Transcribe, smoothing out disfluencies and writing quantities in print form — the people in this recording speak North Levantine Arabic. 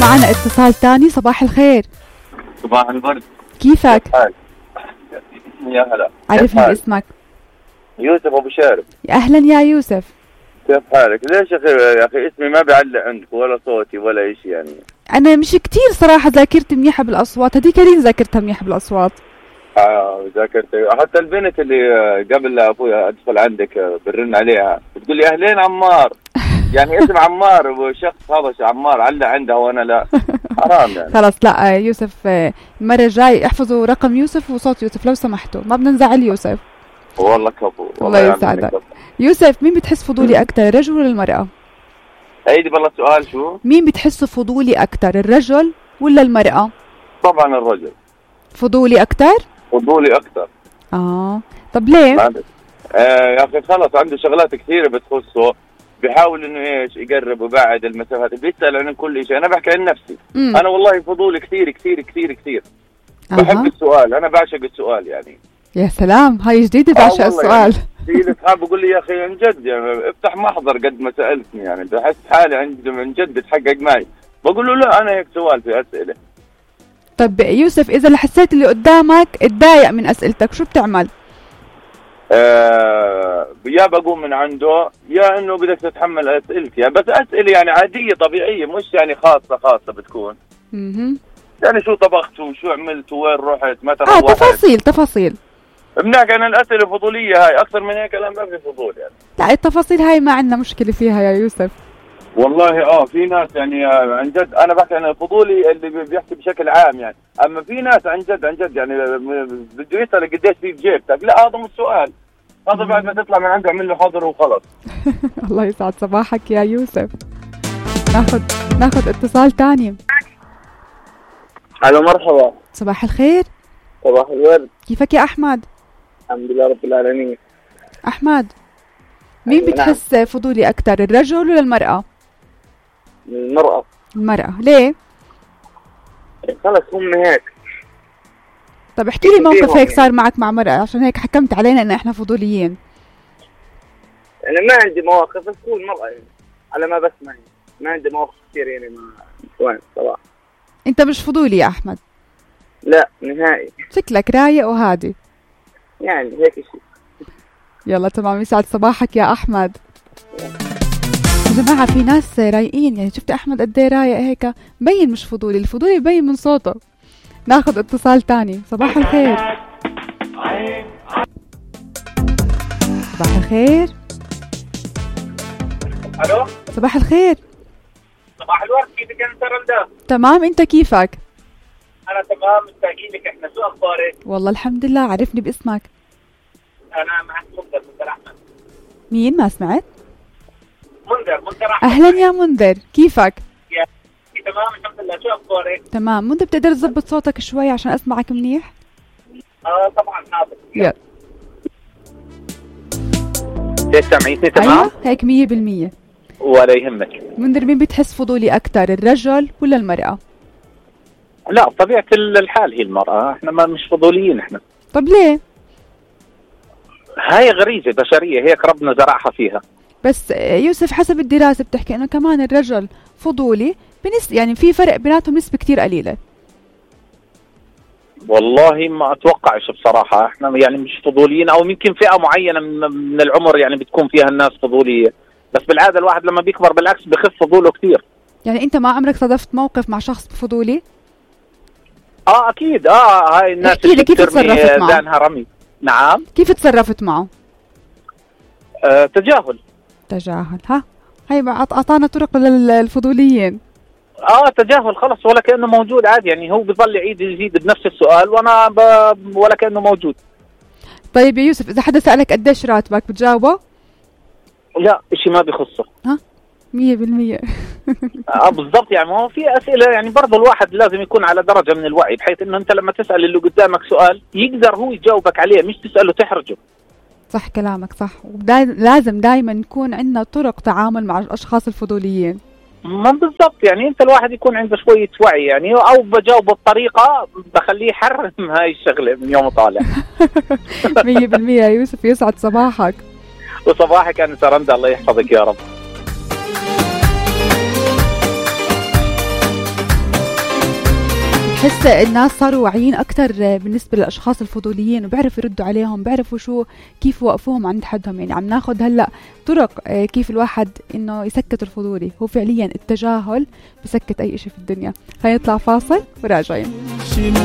معنا اتصال تاني. صباح الخير. صباح الورد. كيفك؟ يا هلا. عرفني اسمك. يوسف ابو شارب. يا اهلا يا يوسف. كيف حالك؟ ليش يا اخي اسمي ما بيعلق عندك ولا صوتي ولا شيء يعني؟ انا مش كتير صراحه ذاكرتي منيحه بالاصوات، هديك لين ذاكرتها منيحه بالاصوات. ذاكرت. حتى البنت اللي قبل ابويا ادخل عندك برن عليها بتقول لي اهلين عمار. يعني اسم عمار وشخص هذا عمار علق عندها وانا لا. حرام يعني. خلاص لا يوسف، المره الجاي احفظوا رقم يوسف وصوت يوسف لو سمحتوا، ما بدنا نزعل يوسف. والله كفو. الله يسعدك. يوسف، مين بتحس فضولي اكثر، الرجل ولا المراه؟ عيدي بالله السؤال شو؟ مين بتحسه فضولي اكثر، الرجل ولا المراه؟ طبعا الرجل. فضولي اكثر؟ فضولي اكثر. طب ليه؟ يا اخي خلص عنده شغلات كثيره بتخصه، بيحاول انه ايش يقرب ويبعد المسافات، بيسال عن كل شيء. انا بحكي عن نفسي. انا والله فضولي كثير كثير كثير كثير. بحب السؤال، انا بعشق السؤال يعني. يا سلام، هاي جديده، بعشق السؤال. يعني في اصحاب بقول لي يا اخي عن جد يعني افتح محضر قد ما سالتني، يعني بحس حالي عن جد بتحقق معي. بقول له لا انا هيك سؤال في اسئله. طب يوسف، اذا حسيت اللي قدامك اتضايق من اسئلتك شو بتعمل؟ يا بقوم من عنده يا انه بدك تتحمل اسئلتي، بس اسئله يعني عاديه طبيعيه، مش يعني خاصه بتكون. يعني شو طبخت وشو عملت وين رحت متى روحت. تفاصيل. بنحكي عن الاسئله الفضوليه هاي، اكثر من هيك لا ما في فضول يعني. لا التفاصيل هاي ما عندنا مشكله فيها يا يوسف. والله في ناس يعني عن جد، انا بحكي عن الفضولي اللي بيحكي بشكل عام يعني. اما في ناس عن جد يعني بده يسال قديش في جيبتك، لا هذا مش سؤال، هذا بعد ما تطلع من عنده اعمل له حاضر وخلص. الله يسعد صباحك يا يوسف. ناخذ اتصال تاني. الو مرحبا. صباح الخير. صباح الورد. كيفك يا احمد؟ الحمد لله رب العالمين. احمد، مين بتحس فضولي اكثر، الرجل ولا المرأة؟ المرأة. ليه؟ خلص هم هيك. طب احكي لي موقف هيك صار معك مع مرأة عشان هيك حكمت علينا ان احنا فضوليين. يعني ما عندي مواقف، بس تكون مرأة يعني على ما بسمع، ما عندي مواقف كثير يعني مع نسوان صراحة. انت مش فضولي يا احمد؟ لا نهائي. شكلك رايق وهادي يعني هيك شيء. يلا تمام، يسعد صباحك يا احمد. يا جماعة في ناس رايقين، يعني شفت احمد قد ايه رايق هيك، مبين مش فضولي، الفضولي مبين من صوته. ناخذ اتصال تاني. صباح الخير. صباح الخير. الو. صباح الخير. صباح الورد. كيفك انت رندا؟ تمام، انت كيفك؟ انا تمام، مشتاقين لك. احنا شو اخبارك؟ والله الحمد لله. عرفني باسمك. انا معك منذر احمد. مين؟ ما سمعت. منذر احمد. اهلا يا منذر، كيفك؟ تمام الحمد لله، شو اخبارك؟ تمام. منذر بتقدر تظبط صوتك شوي عشان اسمعك منيح؟ طبعا حاضر. يلا. ليش سامعيني تمام؟ أيوة هيك 100%. ولا يهمك. منذر، مين بتحس فضولي اكثر، الرجل ولا المرأة؟ لا طبيعة الحال هي المرأة، احنا ما مش فضوليين احنا. طب ليه؟ هاي غريزة بشرية هيك ربنا زرعها فيها. بس يوسف حسب الدراسة بتحكي انه كمان الرجل فضولي يعني في فرق بيناتهم نسبة كتير قليلة. والله ما اتوقعش بصراحة، احنا يعني مش فضوليين، او يمكن فئة معينة من العمر يعني بتكون فيها الناس فضولية، بس بالعادة الواحد لما بيكبر بالعكس بخف فضوله كتير. يعني انت ما عمرك صادفت موقف مع شخص فضولي؟ اكيد. هاي الناس اللي كيف تصرفت معه؟ دانها رمي. نعم. كيف تصرفت معه؟ تجاهل. ها هاي اعطانا طرق للفضوليين. تجاهل خلص، ولا كأنه موجود عادي، يعني هو بيظل يعيد يزيد بنفس السؤال وانا ولا كأنه موجود. طيب يا يوسف، اذا حدا سألك قديش راتبك بتجاوبه؟ لا اشي ما بيخصه. 100%. بالضبط. يعني ما هو في اسئله يعني برضه الواحد لازم يكون على درجه من الوعي، بحيث انه انت لما تسال اللي قدامك سؤال يقدر هو يجاوبك عليه، مش تساله تحرجه. صح كلامك صح. لازم دائما نكون عندنا طرق تعامل مع الاشخاص الفضوليين. ما بالضبط، يعني انت الواحد يكون عنده شويه وعي يعني، او بجاوبه بطريقه بخليه يحرم هاي الشغله من يوم طالع. 100% يا يوسف، يسعد صباحك. وصباحك انت رندا، الله يحفظك يا رب. حس الناس صاروا واعيين أكتر بالنسبة للأشخاص الفضوليين، وبيعرفوا يردوا عليهم، بيعرفوا كيف يوقفوهم عند حدهم. يعني عم ناخد هلأ طرق كيف الواحد إنه يسكت الفضولي. هو فعليا التجاهل بسكت أي إشي في الدنيا. خلينا نطلع فاصل وراجعين.